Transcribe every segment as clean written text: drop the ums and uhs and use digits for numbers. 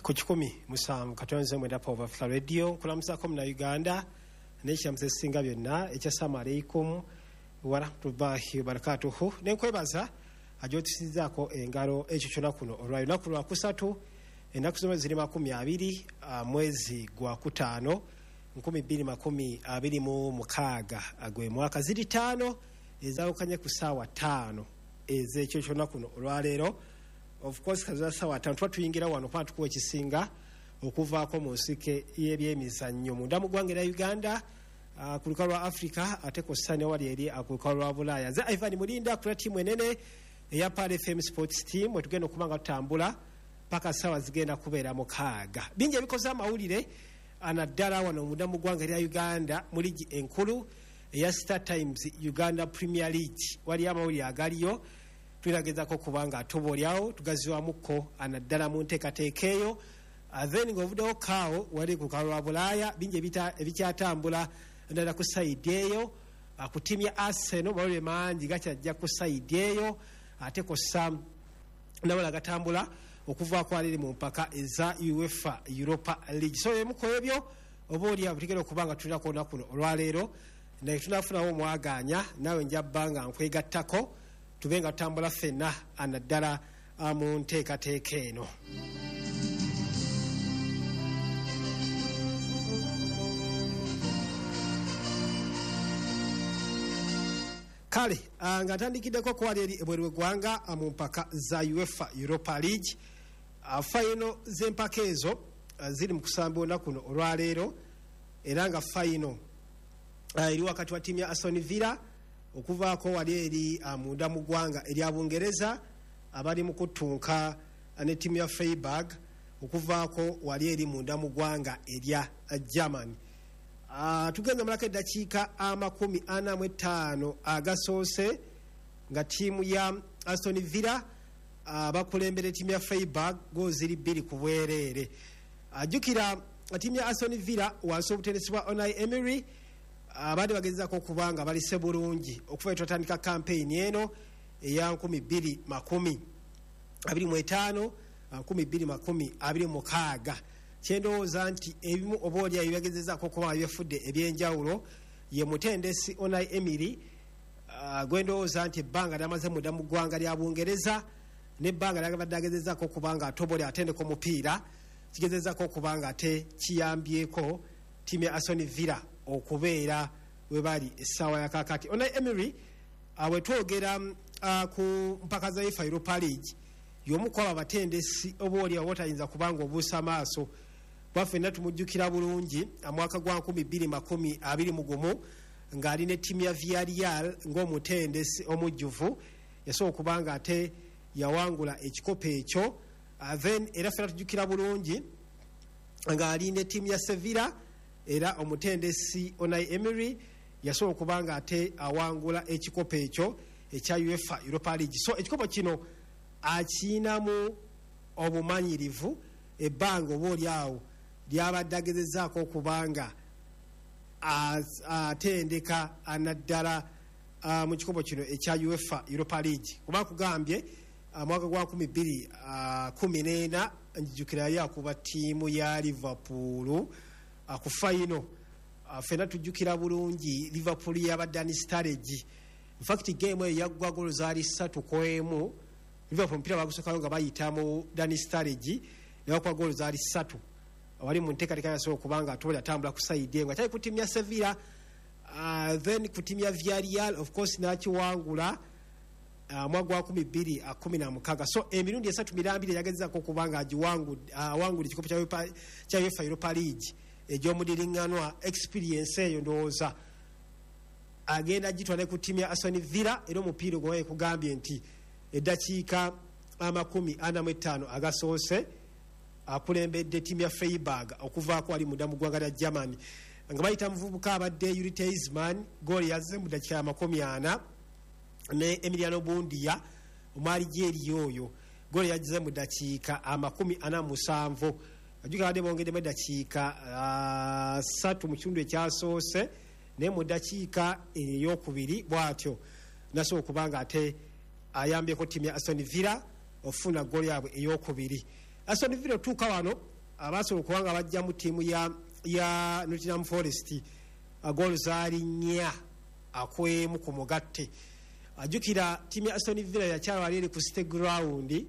Ku 107.9 Power Africa Radio, nkulamusaako muna Uganda n'ekiramuso ekisinga byonna ekya assalamu alaikum warahmatullahi wabarakatuhu. Nenkwebaza ajotusizaako engalo ekyo kyonna kuno olwa lunaku lwakusatu, ennaku z'omwezi ziri 20, mwezi gwa 5 2026, gwe mwaka. Ziri 5 ezawukanye ku ssaawa 5 ez'ekyo kyonna kuno olwaleero. Of course, kaza ssaawa 5 tuba tuyingira wano kuba tukuwa ekisinga okuvaako mu nsike y'ebyemizannyo munda mu ggwanga erya Uganda, ku lukalu lwa Africa, ate kw'ossa ne wali eri ku lukalu lwa Bulaaya. Nze Ivan Mulinda kula ttiimu enene eya Pearl FM Sports Team, wetugenda okuba nga tutambula paka ssaawa zigenda kubeera 6. Bingi ebikoze amawulire naddala wano munda mu ggwanga erya Uganda mu liigi enkulu eya Star Times Uganda Premier League. Waliyo amawulire agaliyo, tulinagezaako okuba nga tuboolyawo tugaziwamukko naddala mu nteekateeka eyo. Then ng'ovuddewo kaawo wali ku lukalu lwa Bulaaya, bingi ebikyatambula naddala ku sayidi eyo. Ku ttiimu ya Arsenal mawulire mangi gakyajja ku sayidi eyo, ate kw'ossa nabala gatambula okuvaako aliri mu mpaka eza UEFA Europa League. So emu ku ebyo oba oli awo tugenda okuba nga tulinako olunaku luno olwaleero, naye tunafunawo omwagaanya naawe nja bba nga nkwegattako tube nga tutambula ffenna naddala mu nteekateeka eno. Kale nga ntandikiddeko kwali eri ebweru w'eggwanga mu mpaka za UEFA Europa League. Fayino z'empaka ezo ziri mu kusamba olunaku luno olwaleero, era nga fayino eri wakati wa ttiimu ya Aston Villa okuvaako wali eri munda mu ggwanga erya Bungereza, abali mu kuttunka ne ttiimu ya Freiburg okuvaako wali eri munda mu ggwanga erya Germany. Tugenda malako eddakiika 45 agasoose nga ttiimu ya Aston Villa bakulembera ttiimu ya Freiburg goal ziri 2-0. Jjukira ttiimu ya Aston Villa wansi obutendesi bwa Unai Emery abadde bagezaako okuba nga balise bulungi okuva twatandika campaign eno eya 2025 2026. Kyendowooza nti ebimu oba oli ayo byagezezaako okuba nga byefudde ebyenjawulo ye mutendesi Unai Emery, gwendowooza nti ebbanga lyamaze munda mu ggwanga lya Bungereza n'ebbanga lyabadde agezezaako okuba nga ate oba oli atendeka omupiira, kigezezaako okuba nga ate kiyambyeko ttiimu ya Aston Villa okubeera we bali essaawa ya kaakati. Unai Emery, bwe twogera ku mpaka za UEFA Europa League, y'omu ku abo abatendesi oba oli awo otayinza kubanga obuusa amaaso. Bwaffe tumujjukira bulungi mwaka gwa 2021 ng'ali ne ttiimu ya Villarreal ng'omutendesi omujjuvu, yasobola okuba nga ate yawangula ekikopo ekyo. Then era ffenna tujjukira bulungi ng'ali ne ttiimu ya Sevilla, era omutendesi Unai Emery yasobola okuba nga ate awangula ekikopo ekyo ekya UEFA Europa League. So ekikopo kino akiinamu obumanyirivu, ebbanga oba oli awo lyabadde agezezaako okuba nga atendeka naddala mu kikopo kino ekya UEFA Europa League. Kuba kugambye mwaka gwa 2014 njijukira yali akuba ttiimu ya Liverpool ku fayino. Ffenna tujjukira bulungi Liverpool yabadde Dani Sturridge. In fact game eyo yaggwa golo zaali 3-1. Liverpool omupiira bagusookayo nga bayita mu Dani Sturridge ne bakuba golo zaali 3. Wali mu nteekateeka yasobola okuba nga ate atambula ku sayidi eyo nga kyali ku ttiimu ya Sevilla, then ku ttiimu ya Villarreal of course n'akiwangula mwaka gwa 2016. So emirundi 3 mirambire yagezezaako okuba nga awangula ekikopo kya UEFA Europa League egy'omudiriŋŋanwa. Experience eyo ndowooza agenda gitwala ku ttiimu ya Aston Villa, era omupiira ogwo kugambye nti eddakiika 45 agasoose akulembedde ttiimu ya Freiburg okuvaako wali munda mu ggwanga lya Germany nga bayita muvubuka abadde Yuri Tielemans, gooli yazze mu ddakiika 40, ne Emiliano Buendia omwalijeeriya oyo gooli yazze mu ddakiika 47. Ajjukira badde bongeddemu eddakiika 3 mu kitundu ekyasoose, naye mu ddakiika eyokubiri bw'atyo nasobola okuba nga ate ayambyeko ttiimu ya Aston Villa okufuna gooli yaabwe eyokubiri. Aston Villa otuuka wano abasobola okuba nga bajjamu ttiimu ya Nottingham Forest goolo zaali 4-1 ku mugatte. Ajjukira ttiimu ya Aston Villa yakyala wali eri ku City Ground,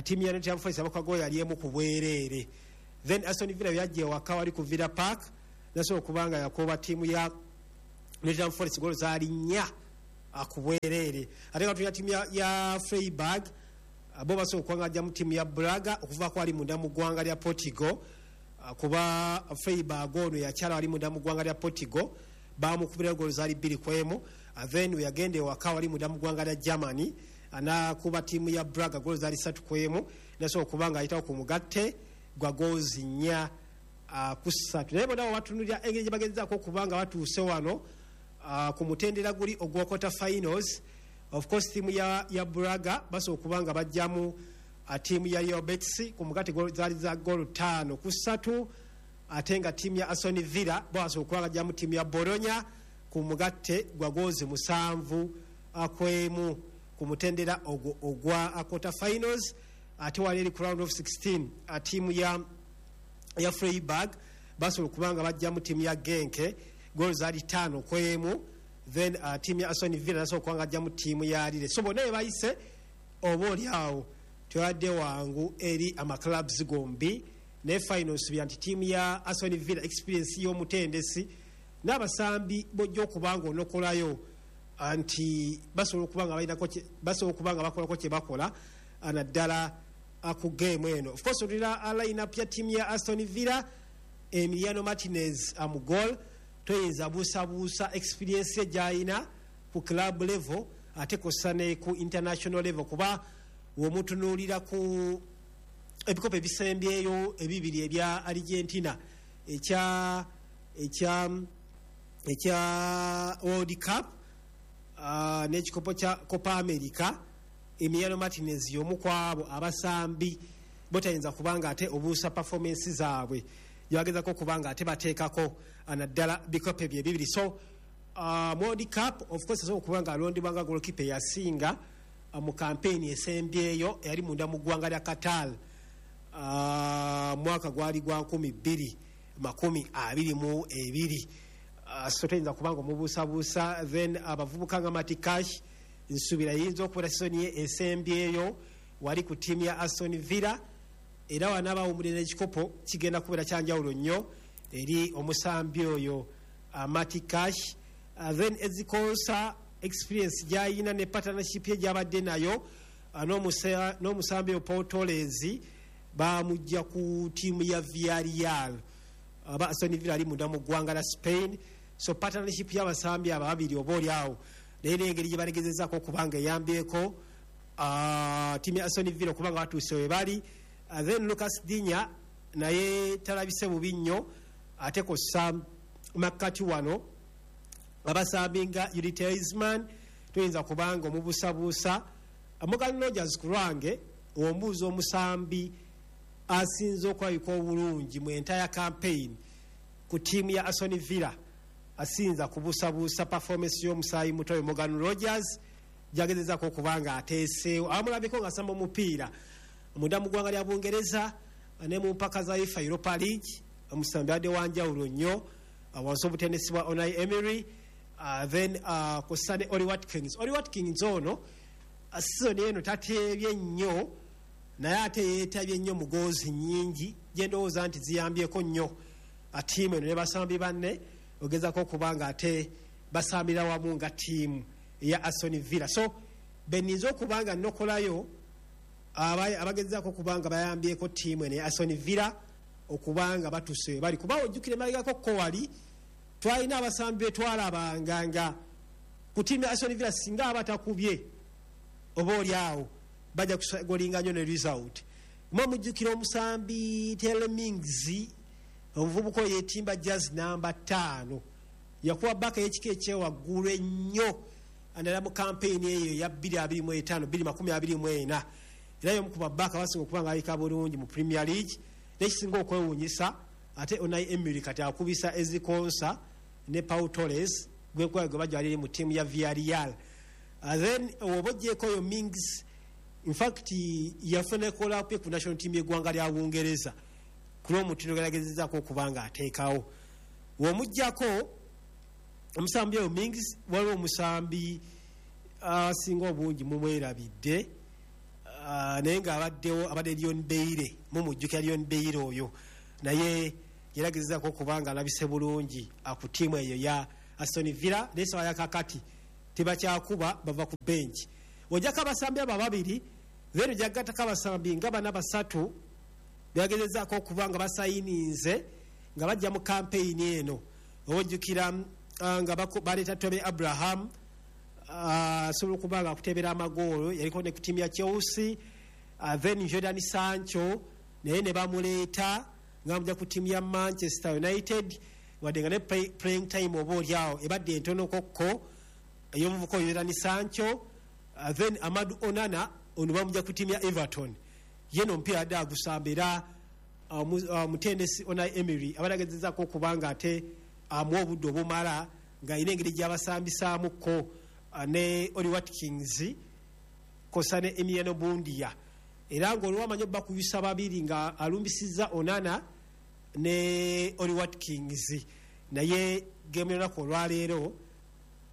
ttiimu ya Nottingham Forest abakuba goolo yali 1 ku bwereere. Then Aston Villa yajja ewaka wali ku Villa Park nasobola okuba nga yakuba ttiimu ya Nottingham Forest goolo zaali 4 ku bwereere. Ate nga tulina ttiimu ya Freiburg, bo basobola okuba nga bajjamu ttiimu ya Braga okuvaako wali munda mu ggwanga lya Portugal, kuba Freiburg ono yakyala wali munda mu ggwanga lya Portugal bamukubira goolo zaali 2-1. Then weyagenda ewaka wali munda mu ggwanga lya Germany anakuba ttiimu ya Braga goolo zaali 3-1, nasobola okuba nga ayitawo ku mugatte gwa goozi 4-3. Naye bonna bwebatunulira engeri gye bagezaako okuba nga batuuse wano ku mutendera guli ogwa quarter finals, of course ttiimu ya Braga basobola okuba nga bajjamu ttiimu ya Real Betis ku mugatte zaali za goolo 5-3, ate nga ttiimu ya Aston Villa basobola okuba nga bajjamu ttiimu ya Bologna ku mugatte gwa goozi 7-1 ku mutendera ogwo ogwa quarter finals. Ate wali eri ku round of 16 ttiimu ya Freiburg basobola okuba nga bajjamu ttiimu ya Genk goolo zaali 5-1. Then ttiimu ya Aston Villa nasobola okuba nga bajjamu ttiimu ya Lille. So bonna be bayise oba oli awo tebadde wangu eri amaclubs gombi, naye final nsubira nti ttiimu ya Aston Villa experience y'omutendesi n'abasambi bojja okuba nga onokolayo nti basobola okuba nga balinako basobola okuba nga bakolako kye bakola naddala ku game eno. Of course otulira line up ya ttiimu ya Aston Villa: Emiliano Martinez mu goal, toyinza buusabuusa experience ye gy'alina ku club level ate kossa ne ku international level, kuba womutunuulira ku ebikopo ebisembyeyo ebibiri ebya Argentina ekya World Cup n'ekikopo kya Copa America, Emiliano Martinez y'omu ku abo abasambi botayinza kubanga ate obuusa performance zaabwe gyebagezako okuba nga ate bateekako naddala bikopo ebyo ebibiri. So World Cup of course asobola okuba nga alondebwa nga goalkeeper eyasinga mu campaign esembyeyo eyali munda mu ggwanga lya Qatar, mwaka gwali gwa 2022. So toyinza kubanga omubuusabuusa. Then abavubuka nga Matty Cash, nsuubira yinza okubeera season ye esembyeyo wali ku ttiimu ya Aston Villa, era wanaabawumulira ekikopo kigenda kubeera kyanjawulo nnyo eri omusambi oyo Matty Cash. Then Ezri Konsa, experience gyayina ne partnership ye gyabadde nayo n'omusambi oyo Paul Torres, bamujja ku ttiimu ya Villarreal aba Aston Villa ali munda mu ggwanga la Spain. So partnership y'abasambi abo ababiri oba oli awo naye n'engeri gye balegezezaako okuba nga eyambyeko ttiimu ya Aston Villa okuba nga batuuse we bali. Then Lucas Digne naye talabise bubi nnyo, ate kossa makkati wano abasambi nga Youri Tielemans toyinza kubanga omubuusabuusa. Morgan Rogers, ku lwange ombuuza omusambi asinze okulabika obulungi mu entire campaign ku ttiimu ya Aston Villa, asinza kubuusabuusa performance y'omusaayi muto oyo Morgan Rogers gyagezezako okuba nga ateeseewo. Abamulabiko nga asamba omupiira munda mu ggwanga lya Bungereza ne mu mpaka za UEFA Europa League, omusambi adde wanjawulo nnyo wansi obutendesi bwa Unai Emery. Then kussa ne Oli Watkins. Oli Watkins ono season eno tateebye nnyo, naye ate yeetabye nnyo mu goozi nnyingi gyendowooza nti ziyambyeko nnyo ttiimu eno ne basambi banne ogezako okuba nga ate basambira wamu nga ttiimu eya Aston Villa. So beninza okuba nga nokolayo abagezaako okuba nga bayambyeko ttiimu eno eya Aston Villa okuba nga batuse bali, kuba ojjukire emabegako ko wali twalina abasambi betwalabanga nga ku ttiimu ya Aston Villa singa aba takubye oba oli awo bajja kugolinga nnyo ne result. Mwe mujjukira omusambi Tyrone Mings, omuvubuka oyo yetimba jersey namba 5, yakuba baka y'ekika ekyewaggulu ennyo naddala mu campaign eyo eya 2025 2024, era y'omu ku babaka basinga okuba nga alika bulungi mu Premier League. Nekisinga okwewuunyisa ate Unai Emery kati akubisa Ezri Konsa ne Pau Torres gwenkuba gwe bajja wali mu ttiimu ya Villarreal. Then oba ogyeko oyo Mings, Infact yafuna call-up ku national team y'eggwanga lya Bungereza ku lw'omutindo geragezezaako okuba nga ateekawo. W'omuggyako omusambi oyo Mings, waliwo omusambi asinga obungi mumwerabidde, naye ng'abaddewo abadde Leon Bailey, mumujjukira Leon Bailey oyo, naye yeragezezaako okuba nga alabise bulungi ku ttiimu eyo ya Aston Villa, naye sawa yakakati tebakyakuba, bava ku bench. Ojjako abasambi abo ababiri, then ojjagattako abasambi nga bana basatu bebagezezaako okuba nga basayininze nga bajja mu kampeyini eno. Oba ojjukira nga baleeta Tammy Abraham, asobola okuba nga akutebera amagoolo, yaliko ne ku ttiimu ya Chelsea. Then Jordan Sancho naye ne bamuleeta nga bamujja ku ttiimu ya Manchester United, wadde nga ne playing time oba oliawo ebadde entonokokko ey'omuvubuka oyo Jordan Sancho. Then Amadu Onana ono bamujja ku ttiimu ya Everton, ye no omupiira adde agusamba, era omutendesi Unai Emery abadde agezezaako okuba nga ate amuwa obudde obumala ng'alina engeri gy'abasambisaamuko ne Oli Watkins kosa ne Emiliano Buendia, era ng'olwamanyi obbakubisa babiri nga alumbisizza Onana ne Oli Watkins, naye gemu y'olunaku olwaleero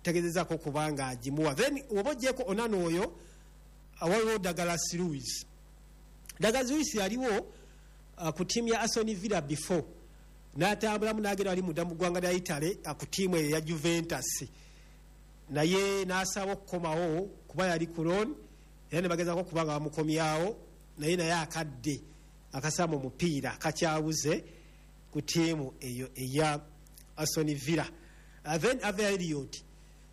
tegezezaako okuba nga agimuwa. Then oba ogyeko Onana oyo, waliwo Douglas Luiz. Douglas Luiz yaliwo ku ttiimu ya Aston Villa before n'atambulamu n'agenda wali munda mu ggwanga lya Italy ku ttiimu eyo ya Juventus, naye n'asaba okukomawo kuba yali ku loan, era ne bagezaako okuba nga bamukomyawo, naye akadde akasamba omupiira kakyabuze ku ttiimu eyo eya Aston Villa. Then Harvey Elliott,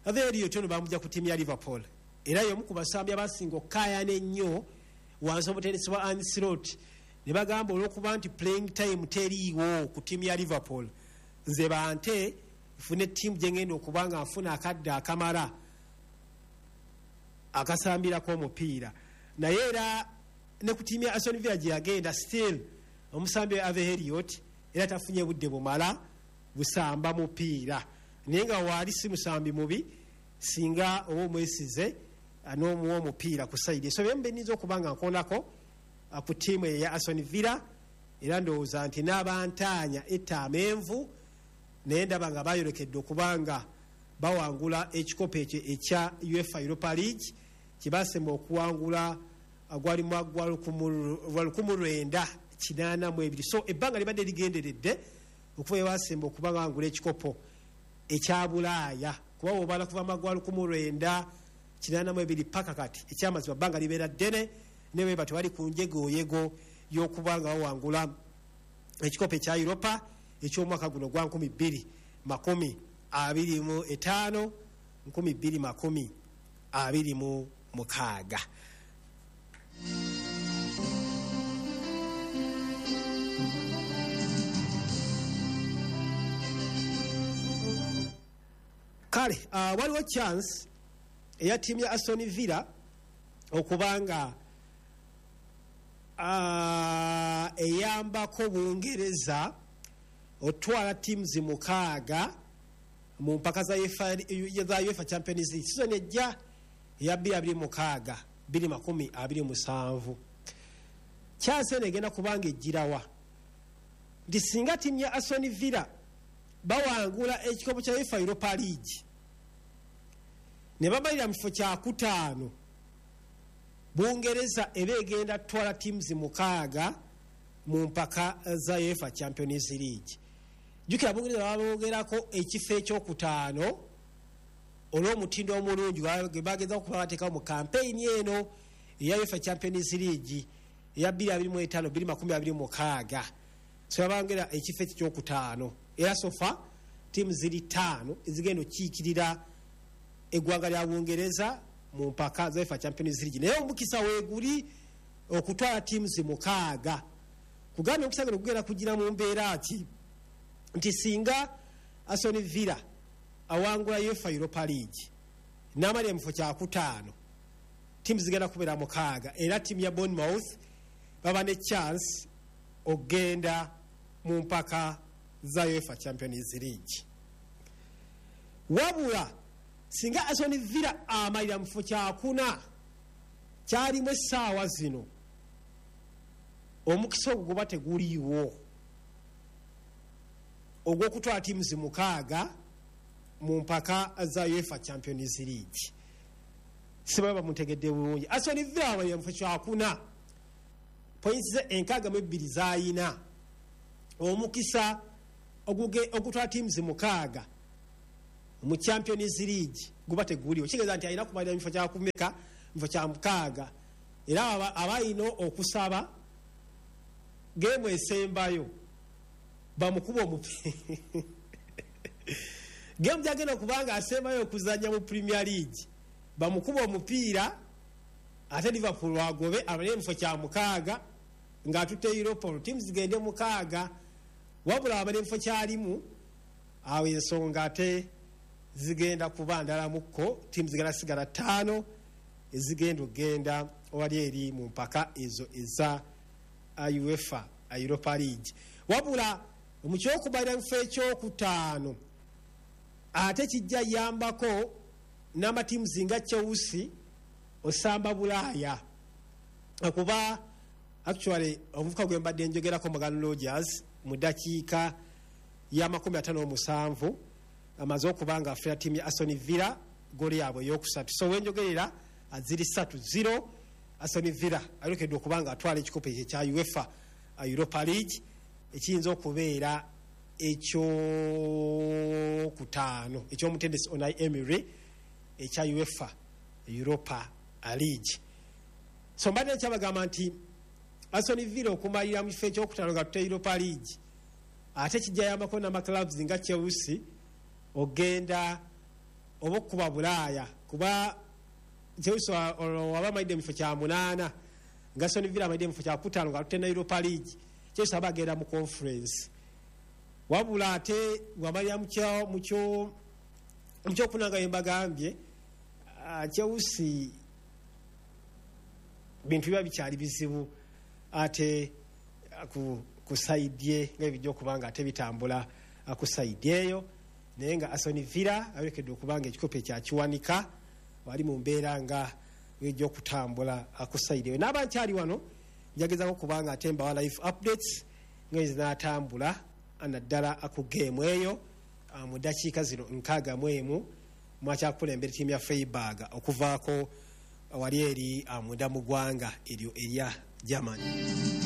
Harvey Elliott ono bamujja ku ttiimu ya Liverpool, era y'omu ku basambi abasinga okukaayana ennyo wansi omutendesi wa Arne Slot, ne bagamba olw'okuba nti playing time teriiwo ku ttiimu ya Liverpool, nze bante nfune ttiimu gye ngenda okuba nga nfuna akadde akamala akasambirako omupiira. Naye era ne ku ttiimu ya Aston Villa gye yagenda, still omusambi wa Harvey Elliott era tafunye budde bumala busamba mupiira, naye nga waali si musambi mubi singa oba omwesize n'omuwa omupiira ku side. So byemu benyinza okuba nga nkoonako ku ttiimu eyo ya Aston Villa, era ndowooza nti n'abantaanya etta amenvu, naye ndaba nga bayolekedde okuba nga bawangula ekikopo ekyo ekya UEFA Europa League kyebasemba okuwangula gwali mwaka gwa 1982. So ebbanga libadde ligenderedde okuva ebasemba okuba nga bawangula ekikopo ekya Bulaaya, kuba bwobala kuva mwaka gwa 1982 paka kati, ekyamazima bbanga libeera ddene, ne bwe batyo bali ku njegoyego y'okuba nga bawangula ekikopo ekya Europa eky'omwaka guno gwa 2025 2026. Kale waliwo chance eya ttiimu ya Aston Villa okuba nga eyambako Bungereza otwala teams 6 mu mpaka za UEFA Champions League season ejja eya 2026 2027. Chance eno egenda kubanga ejjirawa nti singa ttiimu ya Aston Villa bawangula ekikopo kya UEFA Europa League ne bamalira mu kifo kyakutaano, Bungereza eba egenda tutwala teams 6 mu mpaka za UEFA Champions League. Jjukira Bungereza baboogerako ekifo ekyokutaano olw'omutindo omulungi gwe bagezaako okuba bateekawo mu kampeyini eno eya UEFA Champions League eya 2025 2026. So babongera ekifo ekyo ekyokutaano, era so far ttiimu ziri 5 ezigenda okukiikirira eggwanga lya Bungereza mu mpaka za UEFA Champions League, naye omukisa weeguli okutwala teams 6. Kugambye omukisa guno gugenda kugira mu mbeera ki nti singa Aston Villa awangula UEFA Europa League n'amalira mu kifo kyakutaano, ttiimu zigenda kubeera 6, era ttiimu ya Bournemouth baba ne chance okugenda mu mpaka za UEFA Champions League. Wabula singa Aston Villa amalira mu kifo kyakuna, Kyalimu essaawa zino omukisa ogwo guba teguliiwo ogw'okutwala teams 6 mu mpaka za UEFA Champions League. Sibaye bamutegedde bulungi. Aston Villa ye mufo kyakuna, points ze 62 zayina. Omukisa ogutwala teams 6 mu Champions League guba teguliiwo. Kitegeeza nti alina kumalira mu kifo kyakumeka, mu kifo kya 6, era abalina okusaba geemu esembayo bamukuba omupiira. Geemu gyagenda okubanga asembayo okuzannya mu Premier League bamukuba omupiira, ate Liverpool agobe abale mu kifo kya 6 ng'atutte Europa. Teams zigende 6, wabula abale mu kifo kyalimu awo ensonga ate zigenda kuba ndalamukko. Teams zigenda sigala 5 ezigenda okugenda wali eri mu mpaka ezo eza UEFA Europa League. Wabula mu kyokubalira mu kifo ekyokutaano ate kijja yambako n'amatiimu nga Chelsea osamba Bulaaya, kuba actually omuvuka gwe mbadde njogerako Morgan Rogers mu ddakiika ya 57 amaze okuba nga afera ttiimu ya Aston Villa ggoolo yaabwe eyokusatu. So wenjogerera ziri 3-0, Aston Villa ayolekedde okuba nga atwala ekikopo ekyo ekya UEFA Europa League ekiyinza okubeera ekyokutaano eky'omutendesi Unai Emery ekya UEFA Europa League. So mbadde nkyabagamba nti Aston Villa okumalira mu kifo ekyokutaano nga tutte Europa League ate kijja yambako n'amaclubs nga Chelsea ogenda oba okukuba Bulaaya, kuba Chelsea waba amalidde mu kifo kya 8 nga Aston Villa amalidde mu kifo kya 5 nga tutte na Europa League, Chelsea aba agenda mu Conference. Wabula ate bw'amalira mu kyokuna nga mbagambye Chelsea bintu biba bikyali bizibu ate ku sayidi ye nga bijja okuba nga ate bitambula ku sayidi eyo. Naye nga Aston Villa ayolekedde okuba nga ekikopo ekyakiwanika wali mu mbeera nga bijja okutambula ku sayidi eyo. N'aba nkyali wano njagezako okuba nga ate mbawa live updates nga ezinaatambula naddala ku geemu eyo mu ddakiika zino 61 mwakyakulembera ttiimu ya Freiburg okuvaako wali eri munda mu ggwanga eryo erya Germany.